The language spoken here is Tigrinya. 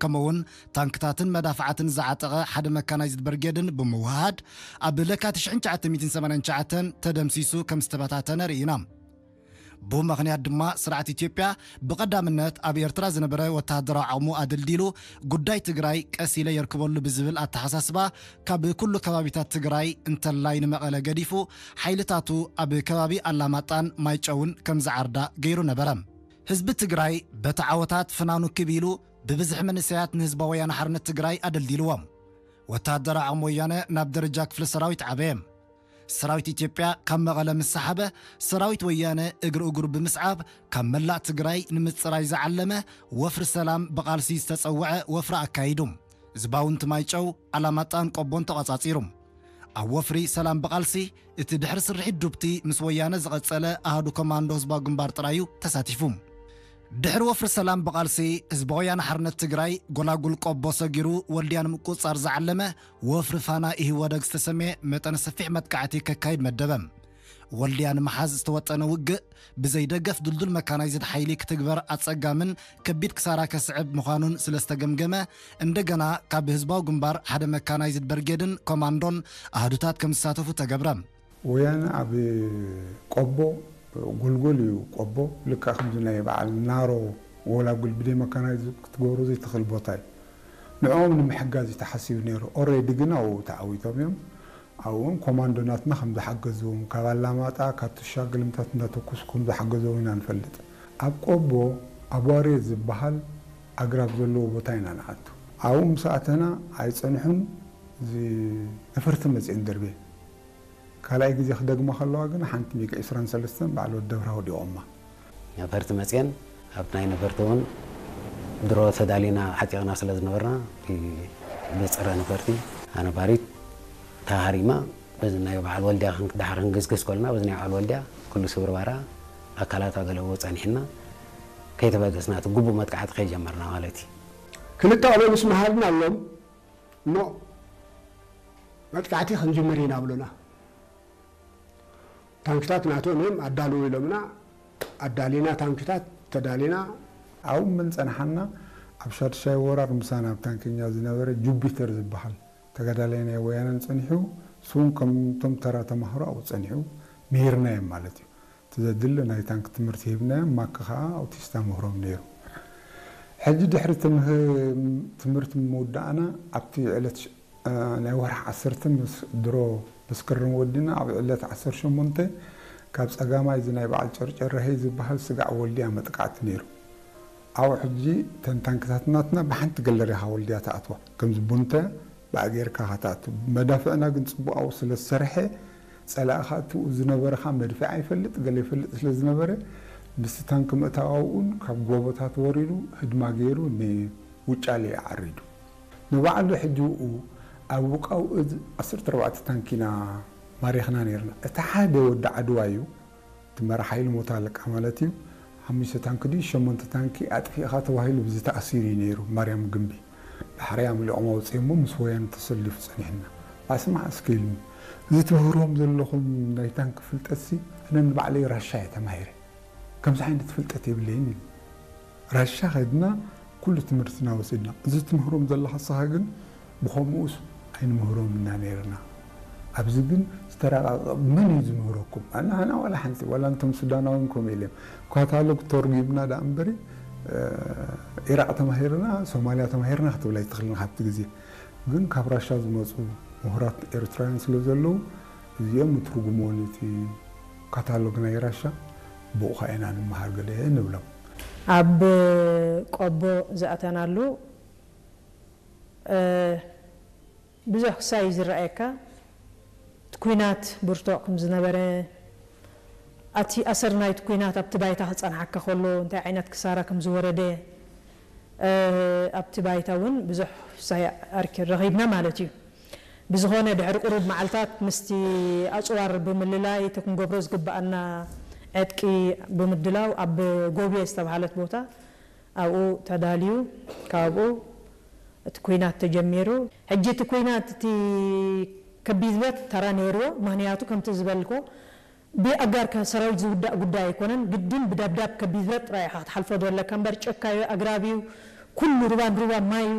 ከምኡውን ታንክታትን መዳፍዓትን ዝዓጠቐ ሓደ መካናይዝድ ብርጌድን ብምውህሃድ ኣብ ለካቲት ሽሕን ትሽዓተ ሚእትን ሰማንያን ትሽዓተን ተደምሲሱ ከም ዝተበታተነ ርኢና። ብኡ ምኽንያት ድማ ስርዓት ኢትዮጵያ ብቐዳምነት ኣብ ኤርትራ ዝነበረ ወተሃደራዊ ዓቕሙ ኣደልዲሉ ጉዳይ ትግራይ ቀስ ኢለ የርክበሉ ብዝብል ኣተሓሳስባ ካብ ኩሉ ከባቢታት ትግራይ እንተላይ ንመቐለ ገዲፉ ሓይልታቱ ኣብ ከባቢ ኣላማጣን ማይጨውን ከም ዝዓርዳ ገይሩ ነበረ። ህዝቢ ትግራይ በቲ ዓወታት ፍናኑ ክብ ኢሉ ብብዝሒ መንእሰያት ንህዝባዊ ወያነ ሓርነት ትግራይ ኣደልዲልዎም። ወተሃደራዊ ዓቕሚ ወያነ ናብ ደረጃ ክፍለ ሰራዊት ዓበየ። ሰራዊት ኢትዮጵያ ካብ መቐለ ምስ ሰሓበ፣ ሰራዊት ወያነ እግሪ እግሩ ብምስዓብ ካብ መላእ ትግራይ ንምጽራይ ዝዓለመ ወፍሪ ሰላም ብቓልሲ ዝተጸውዐ ወፍሪ ኣካይዱ። ህዝባውንቲ ማይጨው፣ ኣላማጣን ቆቦን ተቖጻጺሩ። ኣብ ወፍሪ ሰላም ብቓልሲ እቲ ድሕሪ ስርሒት ዱብቲ ምስ ወያነ ዝቐጸለ ኣሃዱ ኮማንዶ ህዝባዊ ግንባር ጥራዩ ተሳቲፉ። ድሕሪ ወፍሪ ሰላም ብቓልሲ ህዝባዊ ወያነ ሓርነት ትግራይ ጎላጉል ቆቦ ሰጊሩ ወልድያ ንምቁጽጻር ዝዓለመ ወፍሪ ፋና ኢህወደግ ዝተሰምየ መጠነ ሰፊሕ መጥቃዕቲ ከካይድ መደበ። ወልድያ ንምሓዝ ዝተወጠነ ውግእ ብዘይ ደገፍ ድልዱል መካናይዝድ ሓይሊ ክትግበር ኣጸጋምን ከቢድ ክሳራ ከስዕብ ምዃኑን ስለ ዝተገምገመ፣ እንደገና ካብ ህዝባዊ ግንባር ሓደ መካናይዝድ በርጌድን ኮማንዶን ኣሃዱታት ከም ዝሳተፉ ተገብረ። ወያነ ኣብ ቆቦ፣ ጎልጎል እዩ ቆቦ፣ ልክዕ ከምዚ ናይ በዓል ናሮ ጎላጉል ብደይ መካናይዝድ ክትገብሮ ዘይትኽእል ቦታ እዩ። ንዕኦም ንምሕጋዝ እዩ ተሓሲቡ ነይሩ። ኦሬዲ ግን ኣብኡ ተዓዊቶም እዮም። ኣብኡን ኮማንዶ ናትና ከም ዝሓገዝዎም፣ ካብ ኣላማጣ፣ ካብ ቱሻ ግልምታት እንዳተኩሱ ከም ዝሓገዝዎም ኢና ንፈልጥ። ኣብ ቆቦ ኣቧሬ ዝበሃል ኣግራብ ዘለዎ ቦታ ኢና ንኣቱ። ኣብኡ ምስ ኣተና ኣይጸንሑን፣ እዚ ነፈርቲ መጽኤን ደርቤ። ካልኣይ ግዜ ክደግማ ከለዋ ግን ሓንቲ ሚግ ዕስራን ሰለስተን በዓል ወዲ ደብራ ወዲቖማ። ነፈርቲ መጽኤን ኣብ ናይ ነፈርቲ እውን ድሮ ተዳሊና ዓጢቕና ስለ ዝነበርና፣ እቲ ብጸረ ነፈርቲ ኣነባሪት ተሃሪማ፣ በዚ ናይ በዓል ወልድያ ክን-፣ ድሓር ክንግስግስ ከለና፣ በዚ ናይ በዓል ወልድያ ኩሉ ስብርባራ ኣካላታ ገለ ጸኒሕና፣ ከይተበገስና እቲ ግቡእ መጥቃዕቲ ከይጀመርና ማለት እዩ። ክልተ ቆሎ ምስ መሃርና ኣሎም፣ ኖ፣ መጥቃዕቲ ክንጅምር ኢና ብሉና። ታንክታት ናቶም እዮም ኣዳልዉ ኢሎምና፣ ኣዳሊና፣ ታንክታት ተዳሊና። ኣብኡ እምበር ጸንሓና፣ ኣብ ሻድሻይ ወራር ምሳና ኣብ ታንክኛ ዝነበረ ጁፒተር ዝበሃል ተጋዳላይ ናይ ወያነን ጸኒሑ፣ እሱውን ከምቶም ተራ ተማሃሮ ኣብኡ ጸኒሑ፣ ምሂርናዮም ማለት እዩ። እቲ ዘድሊ ናይ ታንክ ትምህርቲ ሂብናዮም፣ ማክ ከኣ ኣውቲስታ ምህሮም ነይሩ። ሕጂ ድሕሪ ትምህ-፣ ትምህርቲ ምውዳእና፣ ኣብቲ ዕለት ሽ-፣ እ፣ ናይ ወርሒ ዓሰርተ ምስ ድሮ መስከረም ወዲና፣ ኣብ ዕለት ዓሰርተ ሸሞንተ ካብ ጸጋማይ እዚ ናይ በዓል ጨርጨረሄ ዝበሃል ስጋዕ ወልድያ መጥቃዕቲ ነይሩ። ኣብኡ ሕጂ እተን ታንክታት ናትና ብሓንቲ ገለሪኻ ወልድያ ትኣትዋ። ከምዚ ቡንተ ብኣ ጌርካ ኸኣ ትኣቱ። መዳፍዕና ግን ጽቡቕ ኣብኡ ስለ ዝሰርሐ፣ ጸላኢ ኸኣ እቲኡ ዝነበረ ኸኣ መድፍዕ ኣይፈልጥ፣ ገለ ይፈልጥ ስለ ዝነበረ፣ ምስቲ ታንኪ ምእታው ኣብኡን ካብ ጎቦታት ወሪዱ ህድማ ገይሩ ንውጫሌ ዓሪዱ። ንባዕሉ ሕጂ ብኡ ኣብ ውቃው እዝ ዓሰርተ ኣርባዕተ ታንኪ ኢና ማሪኽና ነይርና። እቲ ሓደ ወዲ ዓድዋ እዩ። እቲ መራሕ ሓይሊ ሞት ኣለቃ ማለት እዩ። ሓሙሽተ ታንኪ ድዩ ሸሞንተ ታንኪ ኣጥፊእኻ ተባሂሉ ብዚ ተኣሲሩ እዩ ነይሩ ማርያም ግምቢ። ዳሕራይ ኣምሊቖም ኣውፅኦሞ ምስ ወያነ ተሰሊፉ ጸኒሕና። ኣስማዕ እስኪ ኢሉኒ፣ እዚ ትምህርዎም ዘለኹም ናይ ታንኪ ፍልጠትሲ ኣነ ንባዕለይ ራሻ እየ ተማሂረ። ከምዚ ዓይነት ፍልጠት የብለይን ኢሉ። ራሻ ከድና ኩሉ ትምህርትና ወሲድና። እዚ ትምህሮም ዘለኻ ንስኻ ግን ብኸምኡስ ኣይንምህሮም ኢና ነይርና። ኣብዚ ግን ዝተረቓቐ መን እዩ ዝምህረኩም? ኣና፣ ኣና ዋላ ሓንቲ፣ ዋላ እንቶም ሱዳናውን ከምኡ ኢሎም። ካታሎግ ተርጒምና ደኣ እምበሪ፣ እ፣ ኢራቕ ተማሂርና፣ ሶማልያ ተማሂርና ክትብል ኣይትኽእልን ካብቲ ግዜ። ግን ካብ ራሻ ዝመጹ ምሁራት ኤርትራውያን ስለ ዘለዉ፣ እዚኦም ይትርጉምዎ ነቲ ካታሎግ ናይ ራሻ፣ ብኡ ኸኣ ኢና ንምሃር ገለ ንብሎም። ኣብ ቆቦ ዝኣተናሉ፣ እ፣ ብዙሕ ክሳይ እዩ ዝረኣየካ። እቲ ኲናት ብርቱዕ ከም ዝነበረ፣ ኣቲ ኣሰር ናይቲ ኲናት ኣብቲ ባይታ ክጸንሓካ ከሎ እንታይ ዓይነት ክሳራ ከም ዝወረደ፣ እ፣ ኣብቲ ባይታ እውን ብዙሕ ክሳይ ኣርኪ-፣ ረኺብና ማለት እዩ። ብዝኾነ ድሕሪ ቁሩብ መዓልታት ምስቲ ኣጽዋር ብምልላይ እቲ ክንገብሮ ዝግብኣና ዕጥቂ ብምድላው ኣብ ጎብየ ዝተባህለት ቦታ ኣብኡ ተዳልዩ፣ ካብኡ እቲ ኲናት ተጀሚሩ። ሕጂ እቲ ኲናት እቲ ከቢድ ብረት ተራ ነይርዎ። ምኽንያቱ ከምቲ ዝበልኮ ብኣጋር ከ-፣ ሰራዊት ዝውዳእ ጉዳይ ኣይኮነን። ግድን ብደብዳብ ከቢድ ብረት ጥራይ ኢኻ ክትሓልፎ ዘለካ እምበር ጨካ እዩ፣ ኣግራብ እዩ፣ ኩሉ ሩባን ሩባን ማይ እዩ።